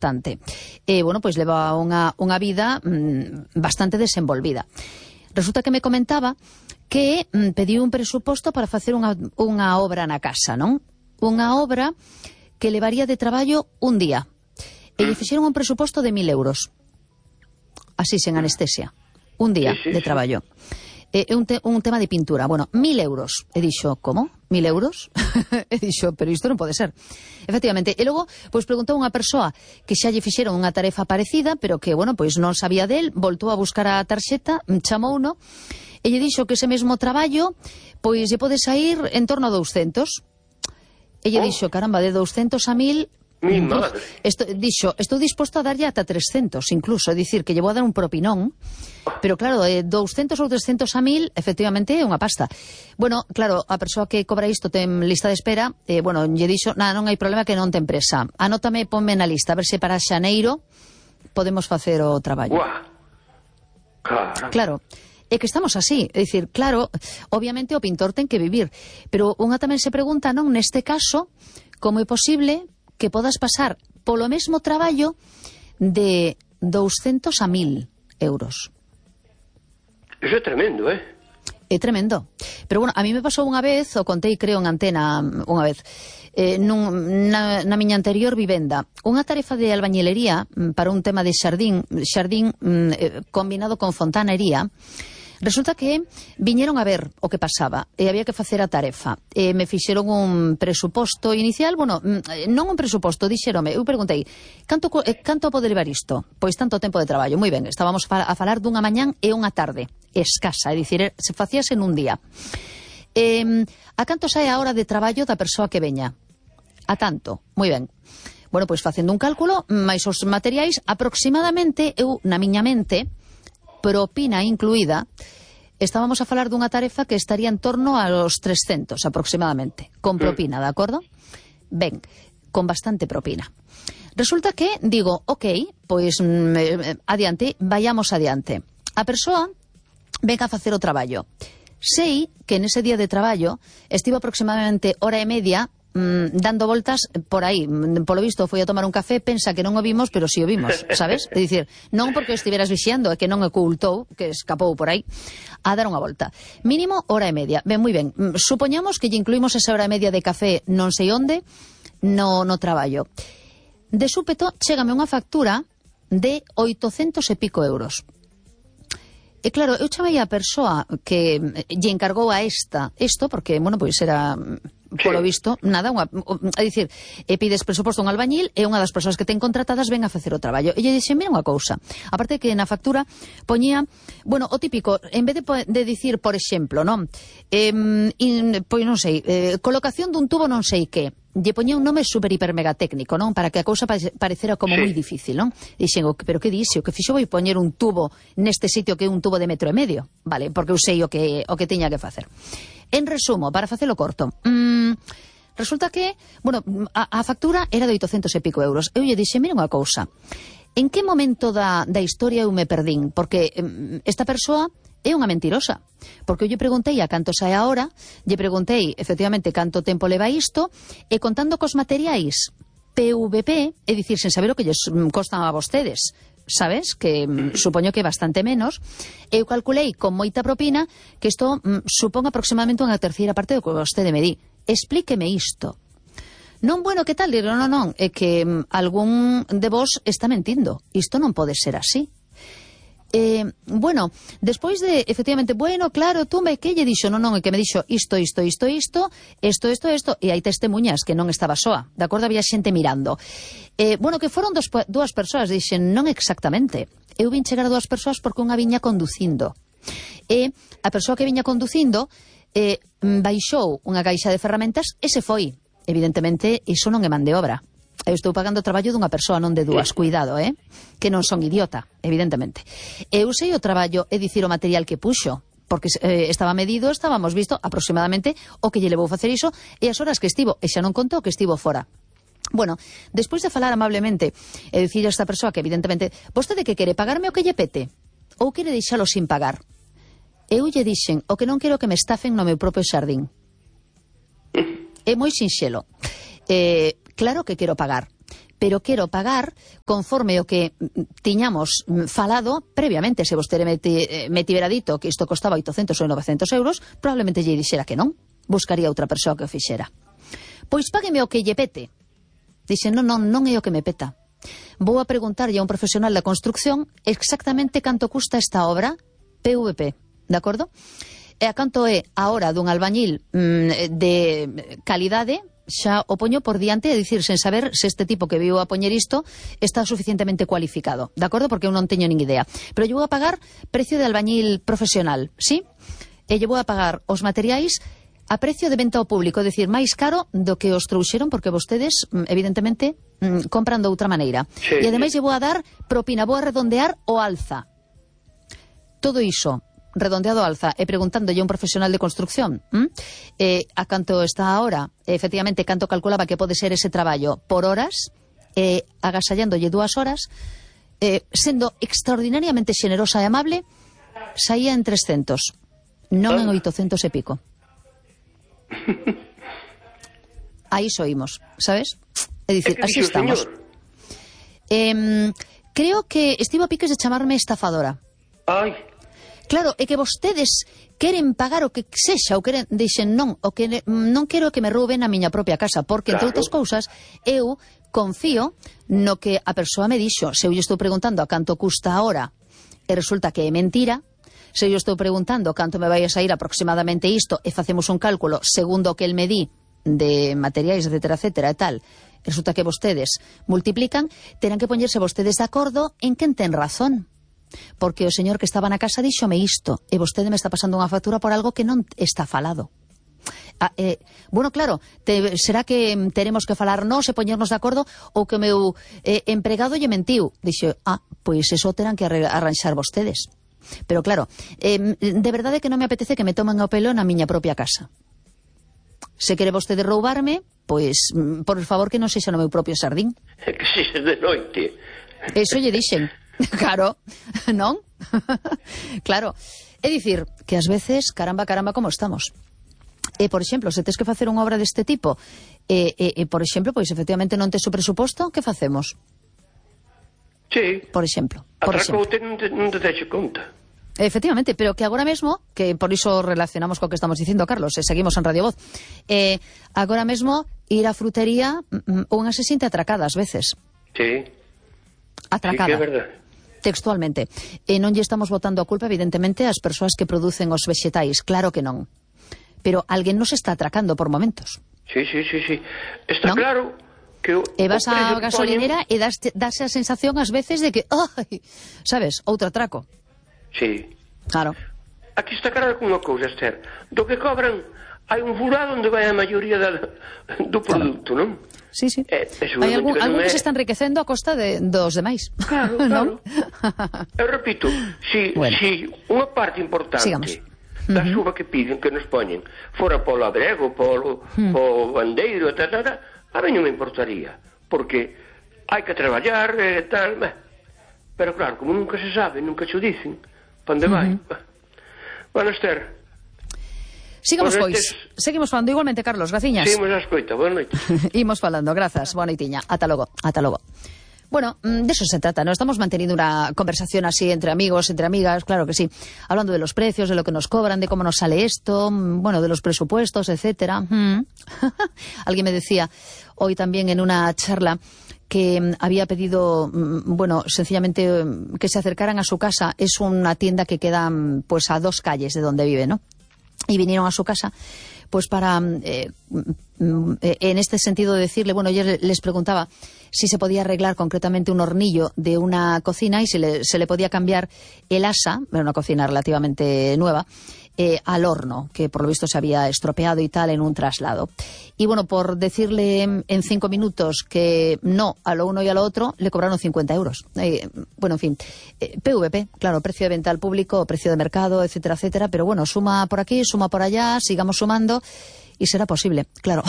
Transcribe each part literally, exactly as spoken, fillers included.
importante. E, bueno, pois leva unha, unha vida mm, bastante desenvolvida. Resulta que me comentaba que mm, pediu un presuposto para facer unha, unha obra na casa, non? Unha obra que levaría de traballo un día. E lle fixeron un presuposto de mil euros. Así, sen anestesia. Un día sí, sí, de traballo. É un, te, un tema de pintura. Bueno, mil euros. E dixo, como? Mil euros? E dixo, pero isto non pode ser. Efectivamente. E logo, pois preguntou unha persoa que xa lle fixeron unha tarefa parecida, pero que, bueno, pois non sabía del, voltou a buscar a tarxeta, chamou uno, e lle dixo que ese mesmo traballo, pois lle pode sair en torno a douscentos. E lle oh. dixo, caramba, de douscentos a mil... Mi madre. Esto, dixo, estou disposto a darlle ata trescentos, incluso, é dicir, que lle vou a dar un propinón, pero claro, de douscentos ou trescentos a mil, efectivamente, é unha pasta. Bueno, claro, a persoa que cobra isto ten lista de espera, eh, bueno, lle dixo, nada, non hai problema que non ten presa. Anótame, ponme na lista, a ver se para xaneiro podemos facer o traballo. Guau. Claro. Claro. É que estamos así, é dicir, claro, obviamente o pintor ten que vivir, pero unha tamén se pregunta, non, neste caso, como é posible que podas pasar polo mesmo traballo de douscentos a mil euros. Eso é tremendo, eh? É tremendo. Pero bueno, a mí me pasou unha vez, o contei creo en antena unha vez, eh, nun, na, na miña anterior vivenda, unha tarefa de albañilería para un tema de xardín, xardín eh, combinado con fontanería. Resulta que viñeron a ver o que pasaba e había que facer a tarefa. E me fixeron un presuposto inicial, bueno, non un presuposto, dixeronme, eu perguntei, canto, canto pode levar isto? Pois tanto tempo de traballo, moi ben, estábamos a falar dunha mañán e unha tarde, escasa, é dicir, se facíase nun día. E, a canto sae a hora de traballo da persoa que veña? A tanto, moi ben. Bueno, pois facendo un cálculo, máis os materiais, aproximadamente, eu, na miña mente, propina incluída, estábamos a falar dunha tarefa que estaría en torno aos trescentos aproximadamente, con propina, de acordo? Ben, con bastante propina. Resulta que, digo, ok, pois mm, adiante, vayamos adiante. A persoa venga a facer o traballo. Sei que nese día de traballo estivo aproximadamente hora e media Mm, dando voltas por aí. Polo visto foi a tomar un café, pensa que non o vimos, pero si o vimos, sabes? É dicir, non porque estiveras vixiando, é que non ocultou, que escapou por aí a dar unha volta. Mínimo hora e media. Ben, moi ben. Supoñamos que lle incluímos esa hora e media de café non sei onde no, no traballo. De súpeto, chégame unha factura de oitocentos e pico euros. E claro, eu chamei a persoa que lle encargou a esta isto, porque, bueno, pois era... polo visto, nada, unha, a dicir, e pides presuposto a un albañil e unha das persoas que ten contratadas ven a facer o traballo. E lle dixe, mira unha cousa, aparte que na factura poñía, bueno, o típico, en vez de, de dicir, por exemplo, non, eh, in, pois non sei, eh, colocación dun tubo non sei que, lle poñía un nome super hiper mega técnico, non? Para que a cousa parecera como moi difícil, non? Dixen, pero que dixe? O que fixo foi poñer un tubo neste sitio que é un tubo de metro e medio, vale? Porque eu sei o que, o que tiña que facer. En resumo, para facelo corto, mmm, resulta que, bueno, a, a factura era de oitocentos e pico euros. Eu lle dixe, mira unha cousa, en que momento da, da historia eu me perdín? Porque um, esta persoa é unha mentirosa. Porque eu lle preguntei a canto sae a hora, lle preguntei, efectivamente, canto tempo leva isto, e contando cos materiais P V P, é dicir, sen saber o que lles costan a vostedes, sabes, que mm, supoño que bastante menos, eu calculei con moita propina que isto mm, supón aproximadamente unha terceira parte do que vostede me di. Explíqueme isto. Non, bueno, que tal? Digo, non, non, é que mm, algún de vos está mentindo. Isto non pode ser así. Eh, bueno, despois de, efectivamente, bueno, claro, tú me que lle dixo, non, non, é que me dixo isto, isto, isto, isto, isto, isto, isto, e hai testemunhas que non estaba soa, de acordo, había xente mirando. Eh, bueno, que foron dos, dúas persoas, dixen, non exactamente, eu vin chegar a dúas persoas porque unha viña conducindo, e a persoa que viña conducindo eh, baixou unha caixa de ferramentas e se foi. Evidentemente, iso non é man de obra. Eu estou pagando o traballo dunha persoa, non de dúas, cuidado, eh? Que non son idiota, evidentemente. Eu sei o traballo, é dicir, o material que puxo, porque eh, estaba medido, estábamos visto aproximadamente o que lle levou facer iso e as horas que estivo, e xa non contou que estivo fora. Bueno, despois de falar amablemente e dicir a esta persoa que evidentemente, vostede que quere, pagarme o que lle pete? Ou quere deixalo sin pagar? Eu lle dixen, o que non quero que me estafen no meu propio xardín. É moi sinxelo. Eh, claro que quero pagar, pero quero pagar conforme o que tiñamos falado previamente. Se vostede me, me tivera dito que isto costaba oitocentos ou novecentos euros, probablemente lle dixera que non, buscaría outra persoa que o fixera. Pois págueme o que lle pete. Dixen, non, non, non é o que me peta. Vou a preguntarlle a un profesional da construcción exactamente canto custa esta obra P V P, de acordo? E a canto é a hora dun albañil mmm, de calidade, xa o poño por diante, é dicir, sen saber se este tipo que viu a poñer isto está suficientemente cualificado, de acordo? Porque eu non teño nin idea. Pero lle vou a pagar precio de albañil profesional, sí? E lle vou a pagar os materiais a precio de venta ao público, é dicir, máis caro do que os trouxeron, porque vostedes, evidentemente, compran de outra maneira. Sí, e ademais sí. lle vou a dar propina, vou a redondear o alza. Todo iso redondeado alza e preguntándolle a un profesional de construcción eh, a canto está ahora, efectivamente, canto calculaba que pode ser ese traballo por horas, eh, agasallándolle dúas horas, eh, sendo extraordinariamente xenerosa e amable, saía en trescentos, non en oitocentos e pico. Aí soímos, sabes? É dicir, así estamos. Eh, creo que estivo a piques de chamarme estafadora. Ai. Claro, é que vostedes queren pagar o que sexa, ou queren, dixen non, o que non quero que me rouben a miña propia casa, porque, claro, entre outras cousas, eu confío no que a persoa me dixo. Se eu lle estou preguntando a canto custa a hora e resulta que é mentira, se eu estou preguntando canto me vai a sair aproximadamente isto e facemos un cálculo segundo o que el me di de materiais, etcétera, etcétera, e tal, resulta que vostedes multiplican, terán que poñerse vostedes de acordo en quen ten razón. Porque o señor que estaba na casa díxome isto e vostede me está pasando unha factura por algo que non está falado. Ah, eh, bueno, claro, te, será que teremos que falar nós e poñernos de acordo ou que o meu eh, empregado lle mentiu. Dixe, ah, pois eso terán que arranxar vostedes. Pero claro, eh, de verdade que non me apetece que me tomen o pelo na miña propia casa. Se quere vostede roubarme, pois, por favor, que non sexa no meu propio xardín. Que sexa de noite. Eso lle dixen. Claro, non? Claro, é dicir que ás veces, caramba, caramba, como estamos. E, por exemplo, se tes que facer unha obra deste tipo e, e, e por exemplo, pois efectivamente non tes o presuposto, que facemos? Sí. Por exemplo, por exemplo. Atracoute non te, non te deixe conta. Efectivamente, pero que agora mesmo, que por iso relacionamos co que estamos dicindo, Carlos, e seguimos en Radio Voz, eh, agora mesmo ir á frutería unha se sinte atracada ás veces. Sí. Atracada. Sí, que é verdade. Textualmente. E non lle estamos botando a culpa, evidentemente, ás persoas que producen os vexetais. Claro que non. Pero alguén nos está atracando por momentos. Sí, sí, sí, sí. Está ¿No? claro que o, e vas á gasolinera ponen... e das, das a sensación ás veces de que, ai, sabes, outro atraco. Sí. Claro. Aquí está claro con unha cousa, Esther. Do que cobran, hai un furado onde vai a maioría da, do produto, claro. Non? Sí, sí. Eh, hai algún, algún é... que se está enriquecendo a costa de, dos demais. Claro, claro. Eu repito, si, bueno. si unha parte importante Sigamos. da uh-huh. suba que piden, que nos poñen, fora polo abrego, polo, uh-huh. polo bandeiro, tal, tal, tal, a mí non me importaría, porque hai que traballar e eh, tal, bah. Pero claro, como nunca se sabe, nunca se o dicen, pa onde vai? Uh-huh. Bueno, Esther, sigamos, pois. Estes... Seguimos falando igualmente, Carlos, graciñas. Seguimos a escoita, boa noite. Imos falando, grazas, boa noitiña. Ata logo, ata logo. Bueno, de eso se trata, ¿no? Estamos manteniendo una conversación así entre amigos, entre amigas, claro que sí. Hablando de los precios, de lo que nos cobran, de cómo nos sale esto, bueno, de los presupuestos, etcétera. Mm. Alguien me decía hoy también en una charla que había pedido, bueno, sencillamente que se acercaran a su casa. Es una tienda que queda, pues, a dos calles de donde vive, ¿no? Y vinieron a su casa, pues para, eh, en este sentido, de decirle, bueno, yo les preguntaba si se podía arreglar concretamente un hornillo de una cocina y si le, se le podía cambiar el asa, era una cocina relativamente nueva, eh, al horno, que por lo visto se había estropeado y tal en un traslado. Y bueno, por decirle en cinco minutos que no a lo uno y a lo otro, le cobraron cincuenta euros. Eh, bueno, en fin, eh, P V P, claro, precio de venta al público, precio de mercado, etcétera, etcétera, pero bueno, suma por aquí, suma por allá, sigamos sumando y será posible, claro.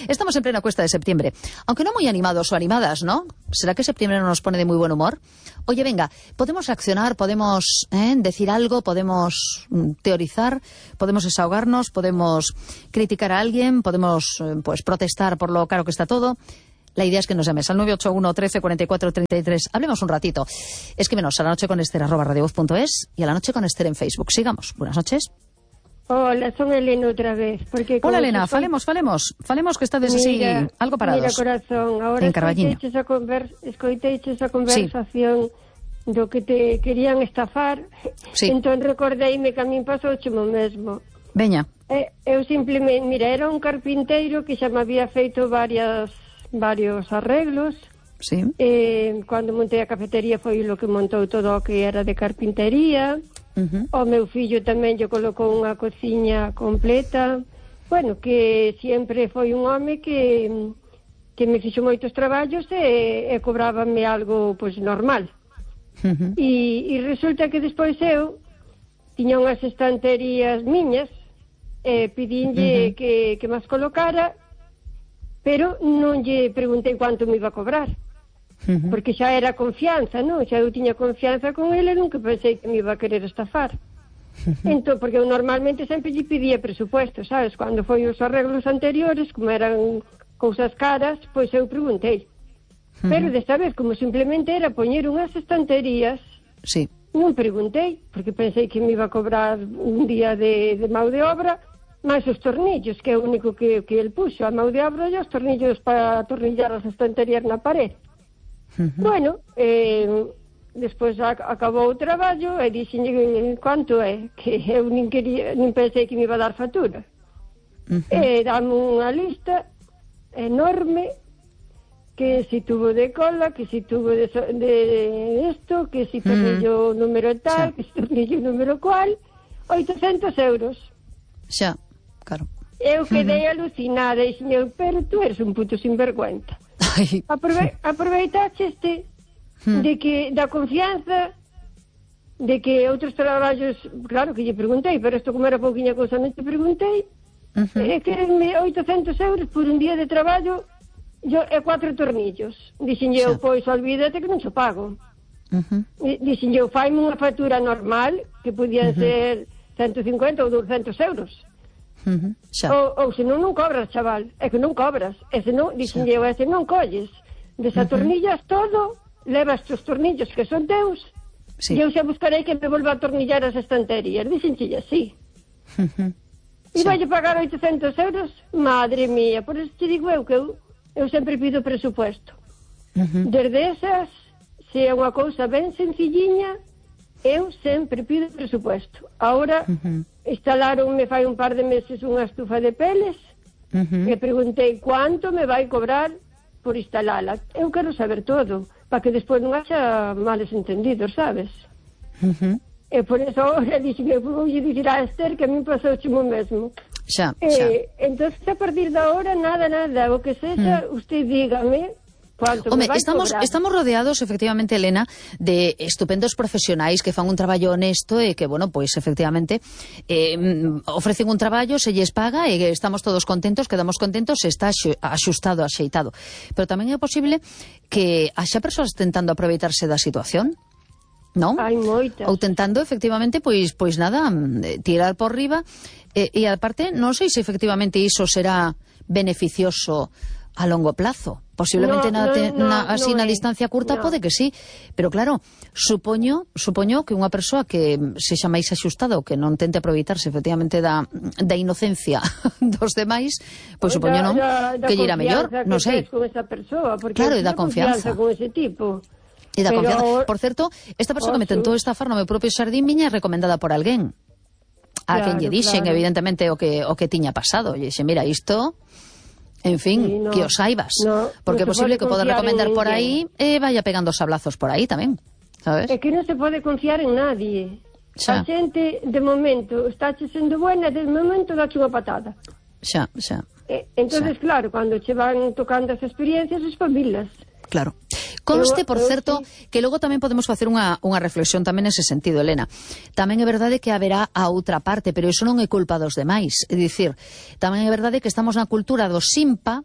Estamos en plena cuesta de septiembre, aunque no muy animados o animadas, ¿no? ¿Será que septiembre no nos pone de muy buen humor? Oye, venga, podemos reaccionar, podemos ¿eh? decir algo, podemos mm, teorizar, podemos desahogarnos, podemos criticar a alguien, podemos eh, pues protestar por lo caro que está todo. La idea es que nos llames al nueve ocho uno, trece, cuarenta y cuatro, treinta y tres. Hablemos un ratito. Escríbenos a la noche con Esther arroba radiovoz punto es y a la noche con Esther en Facebook. Sigamos. Buenas noches. Hola, son Elena outra vez. Porque Hola, Elena, estoy... falemos, falemos. Falemos que estades así, algo parados. Mira, corazón, ahora escoiteiches a, conver... escoiteiches a conversación sí. do que te querían estafar. Sí. Entón recordeime que a min pasouche o mesmo. Veña. Eh, eu simplemente, mira, era un carpinteiro que xa me había feito varias... varios arreglos. Sí. Eh, cando montei a cafetería foi lo que montou todo o que era de carpintería. Uh-huh. O meu fillo tamén lle colocou unha cociña completa. Bueno, que sempre foi un home que que me fixo moitos traballos e, e cobrábame algo pois normal. Uh-huh. E, e resulta que despois eu tiña unhas estanterías miñas e pedinlle uh-huh. que, que mas colocara, pero non lle preguntei quanto me iba a cobrar. Uh-huh. Porque xa era confianza, non? Xa eu tiña confianza con ele, nunca pensei que me iba a querer estafar. Uh-huh. Entón, porque eu normalmente sempre lle pedía presupuesto, sabes? Cando foi os arreglos anteriores, como eran cousas caras, pois eu preguntei. Uh-huh. Pero desta vez, como simplemente era poñer unhas estanterías, sí. non preguntei, porque pensei que me iba a cobrar un día de, de mão de obra, máis os tornillos, que é o único que, que el puxo, a mão de obra e os tornillos para atornillar as estanterías na pared. Uh-huh. Bueno, eh, despois ac acabou o traballo e dixenlle quanto é, que eu nin, quería, nin pensei que me iba a dar factura. Uh-huh. E dame unha lista enorme, que si tuvo de cola, que si tuvo de, de esto, que si tornillo uh-huh. número tal, sí. que si tornillo número cual, oitocentos euros. Xa. Claro. Eu quedei uh-huh. alucinada e dixen, pero tú eres un puto sinvergüenza. Aprove aproveitaste este uh-huh. de que da confianza de que outros traballos, claro que lle preguntei, pero isto como era pouquinha cousa non te preguntei. Uh-huh. E querenme oitocentos euros por un día de traballo yo, e cuatro tornillos. Dixen eu, pois olvídate que non xo pago. Uh-huh. Dixen eu, faime unha factura normal que podían uh-huh. ser ciento cincuenta ou doscientos euros. Uh-huh. ou, ou se non non cobras, chaval, é que non cobras, e se non, dixen eu, e se non colles desatornillas uh-huh. todo, levas os tornillos que son teus, sí. e eu xa buscarei que me volva a atornillar as estanterías. Dixen xilla, sí. Uh-huh. E sí. vai pagar oitocentos euros, madre mía, por eso te digo eu que eu, eu sempre pido presupuesto. Uh-huh. Desde esas, se é unha cousa ben sencilliña, eu sempre pido presupuesto. Ahora uh-huh. instalaron me fai un par de meses unha estufa de peles uh-huh. e preguntei quanto me vai cobrar por instalala. Eu quero saber todo, para que despois non haxa males entendidos, sabes? Uh-huh. E por eso ahora dixen, vou dicir a Esther que a mí pasou o mesmo. Xa, e, xa. Entón, a partir de ahora, nada, nada, o que sexa, uh-huh. usted dígame. Home, estamos, estamos rodeados, efectivamente, Elena, de estupendos profesionais que fan un traballo honesto e que, bueno, pois, efectivamente, eh, ofrecen un traballo, se lles paga e estamos todos contentos, quedamos contentos, se está axustado, axeitado. Pero tamén é posible que haxa persoas tentando aproveitarse da situación, non? Hai moitas. Ou tentando, efectivamente, pois, pois nada, tirar por riba. E, e aparte, non sei se efectivamente iso será beneficioso a longo plazo. Posiblemente no, na, te, no, na, así no na é. distancia curta no. Pode que sí, pero claro, supoño, supoño que unha persoa que sexa máis axustada ou que non tente aproveitarse efectivamente da, da inocencia dos demais, pois supoño non, da, da que lle irá mellor, non sei. Con esa persoa, claro, e da confianza. Con ese tipo. E da pero... confianza. Por certo, esta persoa oh, que me tentou estafar no meu propio xardín miña é recomendada por alguén. A claro, quen lle dixen, claro. evidentemente, o que, o que tiña pasado. Lle dixen, mira, isto... En fin, sí, no, que os saibas. No, porque é no posible que poda recomendar por aí e eh, vaya pegando sablazos por aí tamén, sabes? É que non se pode confiar en nadie. Xa. A xente, de momento, está sendo buena, de momento dache unha patada. Xa, xa. Eh, entonces, xa. Claro, cando che van tocando as experiencias, espabilas. Claro. Conste, por certo, que logo tamén podemos facer unha, unha reflexión tamén nese sentido, Elena. Tamén é verdade que haberá a outra parte, pero iso non é culpa dos demais. É dicir, tamén é verdade que estamos na cultura do simpa,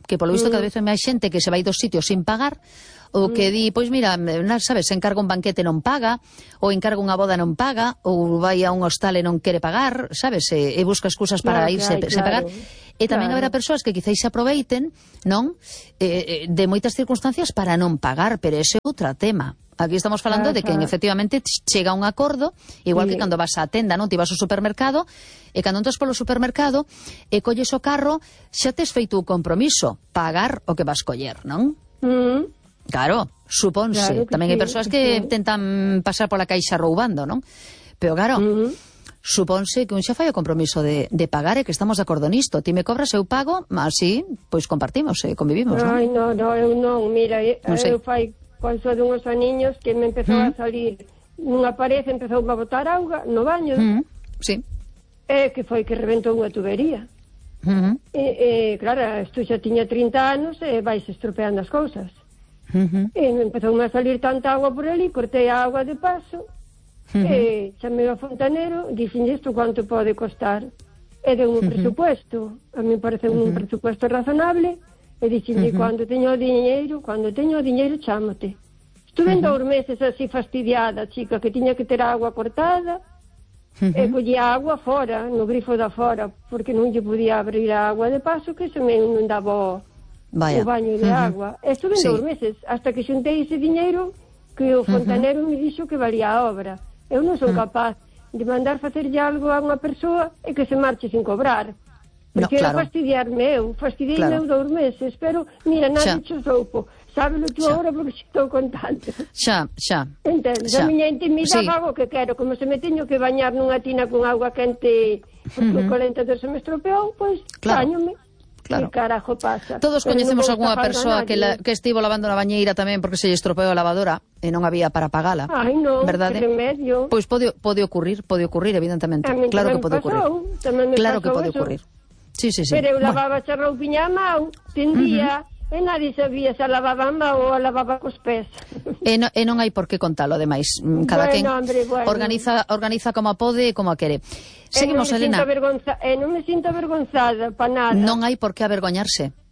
que polo visto mm. cada vez hai máis xente que se vai dos sitios sin pagar, ou que di, pois mira, sabes, se encarga un banquete non paga, ou encarga unha boda non paga, ou vai a un hostal e non quere pagar, sabes, e, e busca excusas para claro, irse claro, se pagar. Claro. E tamén Claro. haberá persoas que quizáis se aproveiten, non? Eh, eh, de moitas circunstancias para non pagar, pero ese é outro tema. Aquí estamos falando de que Ajá. efectivamente chega un acordo, igual Sí. que cando vas á tenda, non? Ti vas ao supermercado, e cando entras polo supermercado e colles o carro, xa tes feito o compromiso, pagar o que vas coller, non? Mm. Claro, supónse. Claro que Tamén hai sí, persoas que que sí. tentan pasar pola caixa roubando, non? Pero claro, Mm. supónse que un xa fai o compromiso de, de pagar e que estamos de acordo nisto. Ti me cobras, eu pago, así, pois compartimos e convivimos, non? Ai, no, no, eu non, mira, eu, Non sei. eu fai coiso dunhos aniños que me empezou Mm. a salir nunha parede, empezou a botar auga no baño, Mm, sí. e que foi que reventou unha tubería. Mm, E, e claro, isto xa tiña trinta anos e vais estropeando as cousas. mm, E me empezou a salir tanta agua por ali, cortei a agua de paso, mm, e chamei ao fontanero, dixen isto quanto pode costar, e deu un presupuesto, a mí parece un presupuesto razonable, e dixenlle, cando teño o diñeiro, cando teño o diñeiro, chámote. Estuve en dous meses así fastidiada, chica, que tiña que ter a agua cortada, e collía agua fora, no grifo da fora, porque non lle podía abrir a agua de paso, que se me inundaba o, Vaya. o baño de agua. E estuve en Sí. dous meses, hasta que xuntei ese diñeiro que o fontanero me dixo que valía a obra. Eu non son capaz de mandar facerlle algo a unha persoa e que se marche sin cobrar. No, Porque claro. era fastidiarme eu, fastidiei Claro. eu dous meses, pero mira, Xa. nadie cho soupo. Sábelo tú Xa. agora porque xe estou contando. Xa, xa. Entendes? Xa. A miña intimidade Sí. fago o que quero, como se me teño que bañar nunha tina con agua quente porque o calentador se me estropeou, pois Claro. bañome. Claro. Que carajo pasa? Todos Pero coñecemos non vou algunha estafar a persoa que, la, nadie. que estivo lavando na bañeira tamén porque se lle estropeou a lavadora e non había para pagala. Ai, non, verdade? que remedio. Pois pode, pode ocurrir, pode ocurrir, evidentemente. A min Claro que tamén pode ocurrir. pasou, tamén me Claro que pasou pode eso. ocurrir. Sí, sí, sí. Pero eu Bueno, lavaba a roupiña a mão, tendía, e nadie sabía se a lavaba a mão ou a lavaba cos pés. E, no, e non hai por que contalo, ademais. Mm, Cada Bueno, quen hombre, bueno. organiza, organiza como pode e como a quere. Seguimos, e non me Elena. sinto avergonza, e non me sinto avergonzada para nada. Non hai por que avergoñarse.